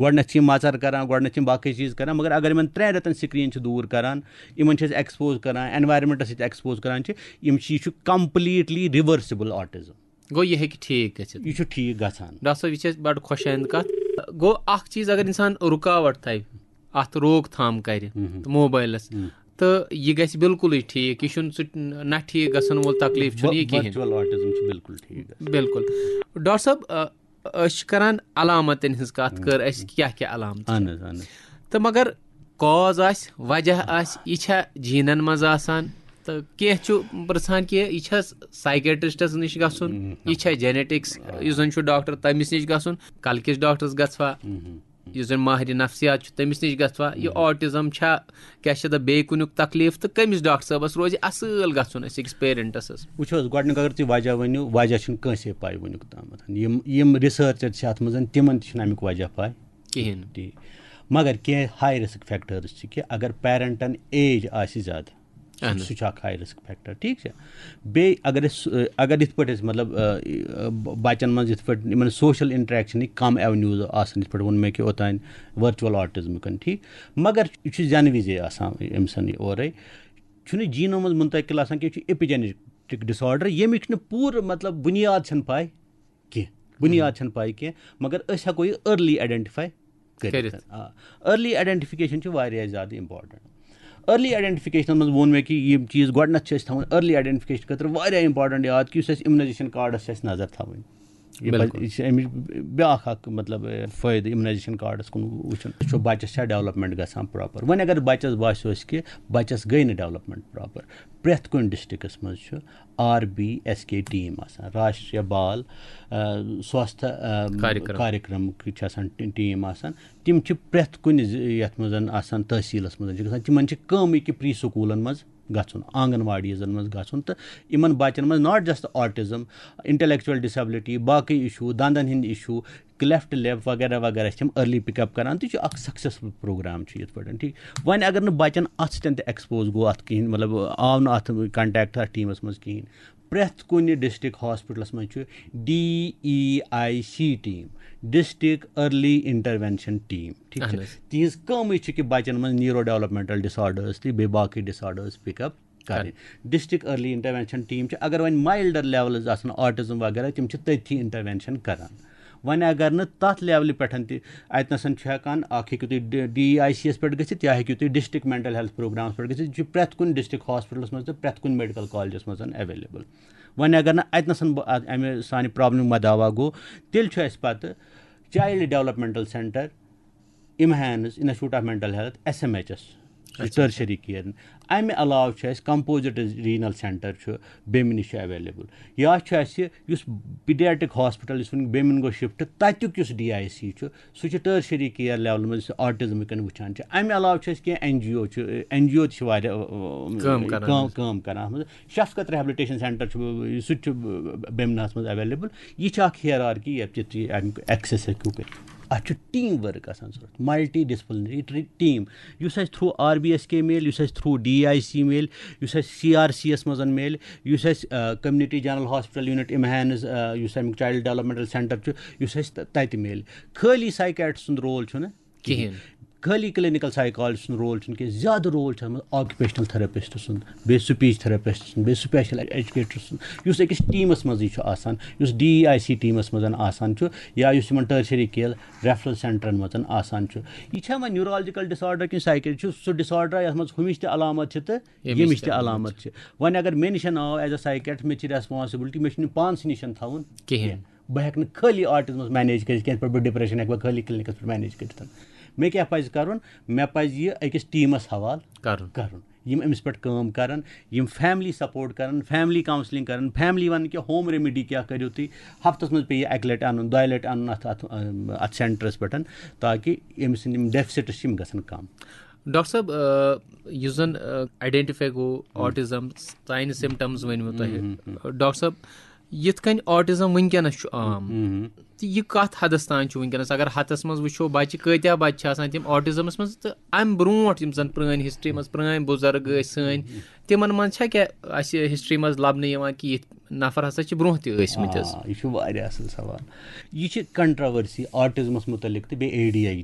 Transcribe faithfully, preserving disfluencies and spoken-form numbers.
گۄڈٕنٮ۪تھ چھِ یِم مَژَر کَران، گۄڈٕنٮ۪تھ چھِ یِم باقٕے چیٖز کَران، مگر اگر یِمَن ترٛٮ۪ن رٮ۪تَن screen چھِ دوٗر کَران، یِمَن چھِ أسۍ expose کَران، environmentس سۭتۍ expose کَران چھِ، یِم چھِ، یہِ چھُ completely reversible autism۔ گوٚو، یہِ ہیٚکہِ ٹھیٖک گٔژھِتھ۔ یہِ چھُ ٹھیٖک گژھان۔ ڈاکٹر صٲب، یہِ چھِ اَسہِ بَڑٕ خۄش آیِنٛد کَتھ۔ گوٚو، اَکھ چیٖز، اگر اِنسان رُکاوَٹ تھاوِ اَتھ روک تھام کَرِ، مہم۔ تہٕ موبایلَس، مم۔ تہٕ یہِ گژھِ بِلکُلٕے ٹھیٖک۔ یہِ چھُنہٕ سُہ نہ ٹھیٖک گژھن وول تکلیٖف چھُنہٕ یہِ کِہیٖنۍ۔ Virtual autism چھُ بِلکُل ٹھیٖک گژھان۔ بِلکُل۔ ڈاکٹر صٲب، آ، أسۍ چھِ کَران علامتَن ہٕنٛز کَتھ، کٔر اَسہِ، کیٛاہ کیٛاہ علامتہٕ چھِ؟ اہن حظ، اہن حظ۔ تہٕ مگر cause آسہِ، وجہ آسہِ، یہِ چھا جینن منٛز آسان؟ تہٕ کینٛہہ چھُ پرژھان کہِ یہِ چھا psychiatristس نِش گژھُن؟ مم۔ یہِ چھا genetics، یُس زن چھُ ڈاکٹر، تٔمِس نِش گژھُن؟ کلکِس ڈاکٹرس گژھوا؟ مم۔ یُس زن ماہرِ نفسیات چھُ، تٔمِس نِش گژھوا؟ یہِ autism چھا، کیٛاہ چھِ دَپ، بیٚیہِ کُنیُک تکلیٖف؟ تہٕ کٔمِس ڈاکٹر صٲبس روزِ اصل گژھُن أسۍ أکِس parentس؟ وٕچھو حظ، گۄڈٕنیُک اگر تُہۍ وجہ ؤنِو، وجہ چھُنہٕ کٲنٛسے پاے وٕنیُک تامَتھ۔ یِم، یِم researcher چھِ اَتھ منٛز، تِمن تہِ چھُنہٕ اَمیُک وجہ پاے۔ کِہیٖنۍ۔ ٹھیٖک۔ مگر کینٛہہ high risk factors چھِ کہِ اگر parentن age آسہِ زیادٕ، سُہ، اہن حظ۔ سُہ چھُ اکھ high risk factor، ٹھیٖک چھا؟ بیٚیہِ اگر أسۍ، اگر یِتھ پٲٹھۍ أسۍ، مطلب، بچن منٛز یِتھ پٲٹھۍ یِمن social interaction کم avenues آسان، یِتھ پٲٹھۍ ووٚن مےٚ کہِ اوٚتانۍ virtual autismکن، ٹھیٖک، مگر یہِ چھُ زٮ۪نہٕ وِزے آسان أمۍ سن یہِ اورے۔ چھُنہٕ جینو منٛز منتقل آسان کینٛہہ، یہِ چھُ epigenetic disorder، ییٚمِچ نہٕ پوٗرٕ، مطلب، بُنیاد چھَنہٕ پاے کینٛہہ، بُنیاد چھَنہٕ پاے کینٛہہ، مگر أسۍ ہٮ۪کو یہِ early identify کٔرِتھ۔ کٔرِتھ۔ آ، early identification چھِ واریاہ زیادٕ important۔ Early identificationس منٛز ووٚن مےٚ کہِ یِم چیٖز گۄڈٕنٮ۪تھ چھِ أسۍ تھاوان early identification خٲطرٕ واریاہ important یاد کہِ یُس اَسہِ immunization cardس چھِ اَسہِ نظر تھاوٕنۍ۔ یہِ پَزِ، بِلکُل۔ یہِ چھِ اَمِچ بیٛاکھ اَکھ، مطلب، فٲیدٕ immunization cardس کُن وٕچھُن۔ وٕچھو بَچَس چھا development گژھان proper۔ وۄنۍ اگر بَچَس باسیو اَسہِ کہِ بَچَس گٔے نہٕ development proper، پرٛٮ۪تھ کُنہِ districtس منٛز چھُ آر بی ایس کے team آسان، راشٹریہ بال، آ، سواستھ، آ، کاریکرم۔ کاریکرمٕکۍ چھِ آسان ٹی-، team آسان۔ تِم چھِ پرٛٮ۪تھ کُنہِ ضِ-، یَتھ منٛز آسان، تحصیٖلَس منٛز چھِ گژھان۔ تِمَن چھِ کٲمٕے کہِ pre schoolن منٛز گژھُن، آنٛگن واڑیٖزَن منٛز گژھُن تہٕ یِمَن بَچَن منٛز not just autism، intellectual disability، باقٕے issue، دَنٛدَن ہِنٛدۍ issue، cleft lip وغیرہ وغیرہ چھِ تِم early pick up کران۔ تہٕ یہِ چھُ اکھ successful program چھُ یِتھ پٲٹھۍ، ٹھیٖک۔ وۄنۍ اگر نہٕ بَچَن اَتھ سۭتۍ تہِ expose گوٚو اَتھ کِہیٖنۍ، مطلب، آو نہٕ اَتھ contact اَتھ teamس منٛز کِہیٖنۍ، پرٛٮ۪تھ کُنہِ district hospitalس منٛز چھُ D E I C team، District Early Intervention Team، ٹھیٖک چھُ؟ اہن حظ۔ تِہنٛز کٲمٕے چھِ کہِ بَچَن منٛز neuro developmental disorders تہٕ بیٚیہِ باقٕے disorders pick up کرٕنۍ۔ District Early Intervention Team چھِ، اگر وۄنۍ milder levels آسَن، autism وغیرہ، تِم چھِ تٔتھی intervention کران۔ وۄنۍ اگر نہٕ تَتھ levelہِ پٮ۪ٹھ تہِ، اَتہِ نَسَن چھُ ہٮ۪کان، اَکھ ہیٚکِو تُہۍ D E I C یَس پٮ۪ٹھ گٔژھِتھ یا ہیٚکِو تُہۍ district mental health programس پٮ۪ٹھ گٔژھِتھ۔ یہِ چھُ پرٛٮ۪تھ کُنہِ district hospitalس منٛز تہٕ پرٛٮ۪تھ کُنہِ medical collegeس منٛز available۔ وۄنۍ اگر نہٕ اَتہِ نَسَن بہٕ اَتھ، اَمہِ سانہِ problemُک مداوا گوٚو، تیٚلہِ چھُ اَسہِ پَتہٕ Child Developmental Centre، IMHANS، Institute of Mental Health، S M H S، یُس tertiary care۔ اَمہِ علاوٕ چھُ اَسہِ Composite Renal Centre چھُ، بیٚمنہِ چھُ available۔ یا چھُ اَسہِ یُس pediatric hospital، یُس وٕنہِ بیٚمِن گوٚو shift، تَتیُک یُس D I C چھُ، سُہ چھُ tertiary care level منٛز autismٕکٮ۪ن وٕچھان چھِ۔ اَمہِ علاوٕ چھُ اَسہِ کینٛہہ N G O چھُ، N G O تہِ چھِ واریاہ، اَ، اَ، کٲم کران کٲم، حظ۔ کٲم کران اَتھ منٛز۔ شفقت rehabilitation centre چھُ، سُہ تہِ چھُ بیٚمنَس منٛز available۔ یہِ چھِ اَکھ hierarchy، یَتھ تہِ تُہۍ اَمیُک access ہیٚکِو کٔرِتھ۔ اَتھ چھُ team work آسان ضوٚرَتھ، multi disciplinary team، یُس اَسہِ through R B S K میلہِ، یُس اَسہِ through D I C میلہِ، یُس اَسہِ C R C یَس منٛز میلہِ، یُس اَسہِ، آ، Community General Hospital Unit IMHANS، آ، یُس اَمیُک Child Developmental Centre چھُ، یُس اَسہِ تَ-، تَتہِ میلہِ۔ خٲلی psychiatrist سُنٛد role چھُنہٕ کِہیٖنۍ۔ خٲلی clinical psychologist سُنٛد role چھُنہٕ کینٛہہ، زیادٕ role چھُ اَتھ منٛز occupational therapist سُنٛد، بیٚیہِ speech therapist سُنٛد، بیٚیہِ special educator سُنٛد، یُس أکِس teamس منٛزٕے چھُ آسان، یُس D E I C teamس منٛز آسان چھُ یا یُس یِمَن tertiary care referral centreن منٛز آسان چھُ۔ یہِ چھا وۄنۍ neurological disorder کِنہٕ psychiatric چھُ سُہ disorder یَتھ منٛز ہُمِچ تہِ علامت چھِ تہٕ ییٚمِچ ییٚمِچ تہِ تہِ علامت علامت چھِ؟ وۄنۍ اگر مےٚ نِش آو as a psychiatrist، مےٚ چھِ responsibility، مےٚ چھُنہٕ پانسٕے نِش تھاوُن کِہیٖنۍ۔ بہٕ ہٮ۪کہٕ نہٕ خٲلی autismس manage کٔرِتھ کینٛہہ، یِتھ پٲٹھۍ بہٕ depression ہٮ۪کہٕ بہٕ خٲلی clinicس پٮ۪ٹھ manage کٔرِتھ۔ مےٚ کیٛاہ پَزِ کَرُن؟ مےٚ پَزِ یہِ أکِس teamس حوالہٕ کَرُن۔ کَرُن، یِم أمِس پٮ۪ٹھ کٲم کَرَن، یِم family support کَرَن، family counselling کَرَن، family وَنَن کہِ home remedy کیٛاہ کٔرِو تُہۍ، ہفتَس منٛز پیٚیہِ اَکہِ لَٹہِ اَنُن، دۄیہِ لَٹہِ اَنُن اَتھ، اَتھ، اَتھ centreس پٮ۪ٹھ، تاکہِ أمۍ سٕنٛدۍ یِم deficits چھِ، یِم گژھن کَم۔ ڈاکٹر صٲب، آ، یُس زَن، آ، identify گوٚو autism، ساینہٕ symptoms ؤنۍمو تۄہہِ۔ ڈاکٹر صٲب، یِتھ کٔنۍ آٹزم وٕنکیٚنس چھُ عام، تہٕ یہِ کتھ حدس تام چھُ وٕنکیٚنس؟ اگر ہتس منٛز وٕچھو بچہِ، کۭتیاہ بچہِ چھِ آسان تِم آٹزمس منٛز؟ تہٕ امہِ برونٹھ یِم زن پرٲنۍ ہسٹری منٛز، پرٲنۍ بُزرگ ٲسۍ سٲنۍ، تِمن منٛز چھا کیٛاہ اسہِ ہسٹری منٛز لبنہٕ یِوان کہِ یِتھ نفر ہسا چھِ برونٛہہ تہِ ٲسۍ مٕتۍ حظ؟ آ، یہِ چھُ واریاہ اَصٕل سوال۔ یہِ چھِ کنٹراورسی آٹزمس مُتعلق تہٕ بیٚیہِ اے ڈی ایچ ڈی۔